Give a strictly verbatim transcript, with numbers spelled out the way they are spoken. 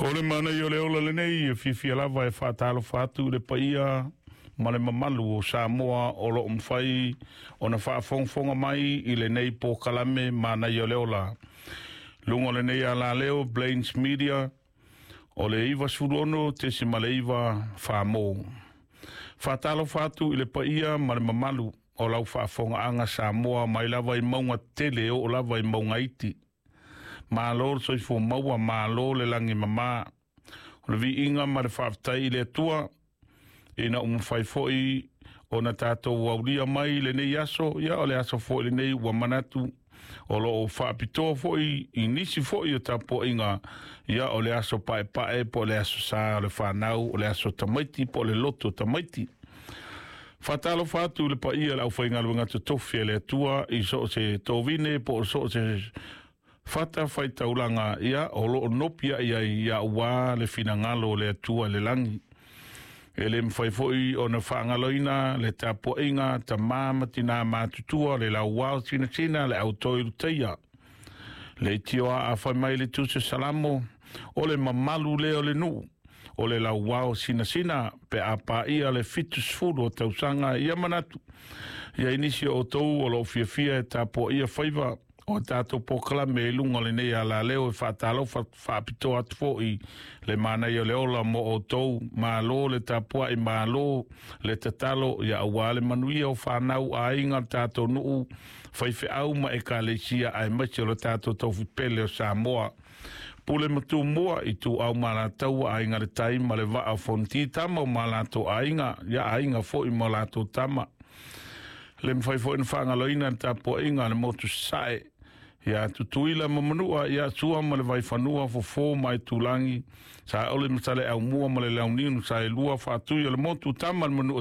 O le manaia o le ola lenei e fiafia lava e faatalofa atu i le paia ma le mamalu o Samoa o lo o mafai ona faafogafoga mai i lenei polokalame Manaia o le Ola. Luga o lenei alaleo Plains Media o le ivasefulu ono tesima le iva famo. Faatalofa atu i le paia ma le mamalu o lau faafogaaga Samoa mai lava i mauga tele oo lava i mauga iti. Malo le soifua maua, malo le lagi mama. O le viiga ma le faafetai i le Atua ina ua mafai foi ona tatou aulia mai lenei aso. Ia o le aso foi lenei ua manatu o lo o faapitoa foi i nisi foi o tapuaiga. Ia o le aso paepae po o le aso sa o le fanau, o le aso tamaiti po o le loto tamaiti. Faatalofa atu i le paia o le aufaigaluega totofi a le Atua i so o se tovine po o so o se fata faitaulaga, ia o lo o nopi ai ai ia ua le finagalo o le Atua i le lagi. E le mafai foi ona faagaloina le tapuaiga tamā ma tinā matutua, le lauao sinasina, le au toi lutaia, le itioa a fai mai le Tusi Salamo, o le mamalu lea o le nuu, o le lauao sinasina pe a paia le fitu sefulu o tausaga. Ia manatu ia i nisi o outou o lo o fiafia e tapuaia faiva o tatou polokalame i luga o lenei alaleo, e faatalofa faapitoa atu foi le Manaia o le Ola mo outou. Malo le tapuai, malo le tatalo, ia aua le manuia o fanau, aiga, le tatou nuu, faifeau ma ekalesia, aemaise o le tatou taufipele o Samoa. Pule ma Tumua, Ituau ma Alataua, Aiga le Tai ma le Vaa o Fonoti, Tama o ma latou aiga, ia aiga foi ma latou tama. Le mafai foi na faagaloina le tapuaiga a le motu Sasae ia Tutuila ma Manua, ia Sua ma le Vaifanua, Fofo ma Aitulagi, Saole ma Saleaaumua ma le Launiu, Saelua, Faatui o le Motu, Tama le Manua.